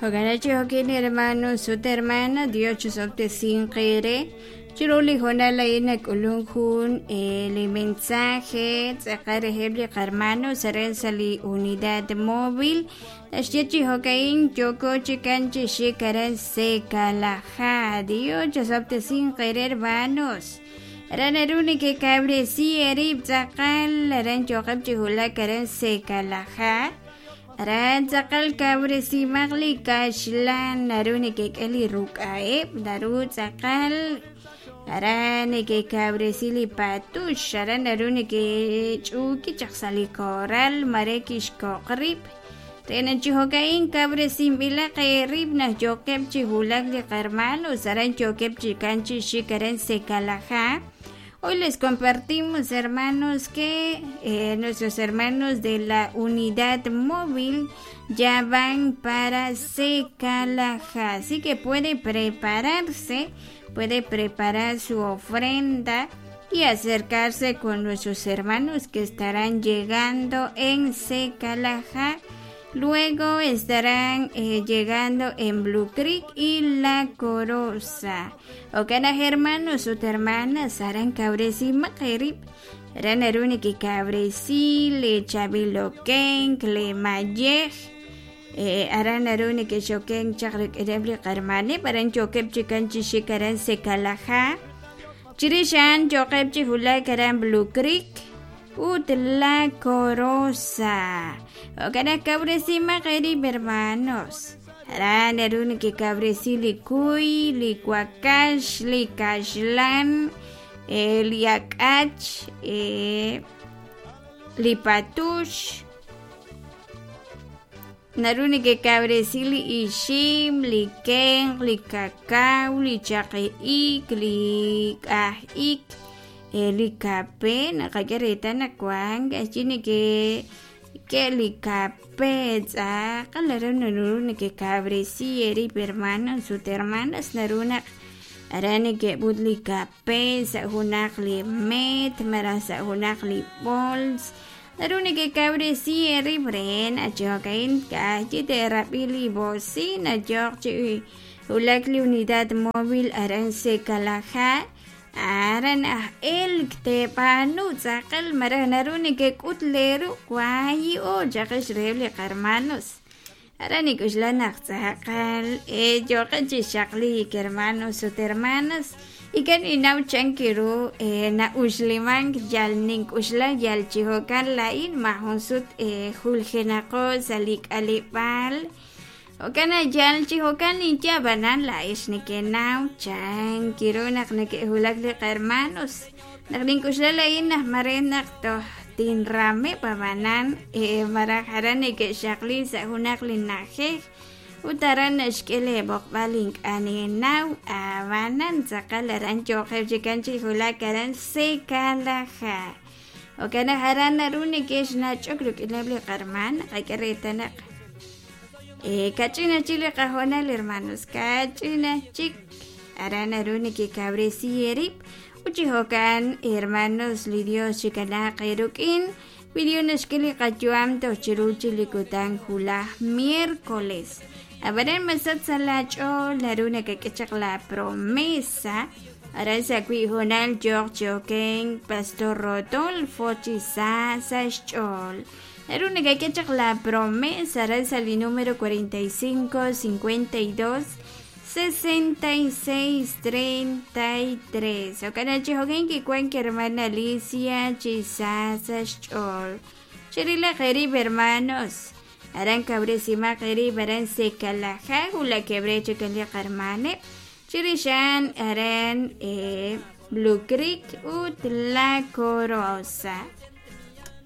Jo'kan chi jo'kin hermanos ut hermanas, Dios chisob'tesinq eere. Chiru li hoonal a'in nak'ulun jun li mensaje tz'aqal reheb' li qarmanos aran sa' li unidad móvil. Naxye chi jo'ka'in yooko chikan chi xik aran Secalaja. Dios chisob'tesinq eere hermanos. Aran naru nekekawresi eerib' tz'aqal aran yooqeb' chi wulak aran Secalaja. Aran tz'aqal kawresimaq li kaxlan naru nekek'e li ruk'a'eb' naru tz'aqal aran nekekawresi li patux aran naru nekech'uuki chaq sa' li koral mare kixkoq rib' re naq chi jo'ka'in kawresinb'ilaq eerib' naq yookeb' chi wulak li qarmanos aran yookeb' chi kan chi xik aran Secalajá. Hoy les compartimos, hermanos, que nuestros hermanos de la unidad móvil ya van para Secalajá. Así que puede prepararse, puede preparar su ofrenda y acercarse con nuestros hermanos que estarán llegando en Secalajá. Luego estarán llegando en Blue Creek y La Coroza. Jo'kan naq hermanos ut hermanas aran kawresimaq eerib' aran naru nekekawresi lee chaab'il okenk, lee mayej, aran naru nekexokenk chaq rik'ineb' li qarmaneb' aran yookeb' chikan chi xik aran Secalajá. Chirix a'an yooqeb' chi wulak aran Blue Creek ut La Coroza. Jo'kan naq kawresimaq eerib' hermanos. Aran naru nekekawresi li kuy, li wakax, li kaxlan, li ak'ach, li patux. Naru nekekawresi li ixim, li kenq, li kakaw, li chaqi ik, li k'aj ik, li kape. Naqak'e reetal naq wank k'a'chi nekek'e li kape tz'aqal naru naru nekekawresi eerib' hermanos ut hermanas naru naq aran nekeb'ut li kape sa' junaq li meet malaj sa' junaq li b'ools. Naru nekekawresi eerib' re naq chi jo'ka'in ka'ajwi' teerab'i li bocina yooq chi wulak li unidad móvil aran Secalajá aran aj elk teeb'aanu tz'aqal malaj naru nekek'ut leeru' waayi'o chaqix reheb' li qarmanos. Aran nink'oxla naq tz'aqal yooqeb' chi xaqliik hermanos ut hermanas ink'a' ninnaw chan ru na'uxlimank yal nink'oxla yal chi jo'kan laa'in maajun sut juljenaqo sa' li k'aleb'aal jo'kan naq yal chi jo'kan ninye ab'anan laa'ex nekenaw chan ru naq neke'wulak li qahermanos naq nink'oxla laa'in naq mare naq toj tinrameb' ab'anan malaj aran neke'xaqli sa' junaq li na'ajej ut aran naxk'e leeb'oqb'al ink'a' ninnaw ab'anan tz'aqal aran yooqeb' chikan chi wulak aran Secalaja. Jo'kan naq aran naru neke'xnach'ok rik'ineb' li qarman naqak'e reetal naq kach'in chik li qahoonal hermanos kach'in chik aran naru nekekawresi eerib' ut chi jo'kan hermanos li Dios chikanaaq eerik'in wi Dios naxk'e li qayu'am toj chiru chi li kutan wulaj miércoles ab'anan masach sa' laach'ool naru nakak'e chaq la promesa aran sa' wi' hoonal yooq chi okenk Pastor Rodolfo chi sa sa' xch'ool naru nakak'e chaq la promesa aran sa' li número 45 52 66 33. Jo'kan naq chi jo'kan kiwank hermana Alicia chi sa sa' xch'ool. Cherilaq eerib' hermanos. Aran kawresimaq eerib' aran Secalajá wulakeb' re chikan li qarmaneb'. Chirix a'an aran Blue Creek ut La Corosa.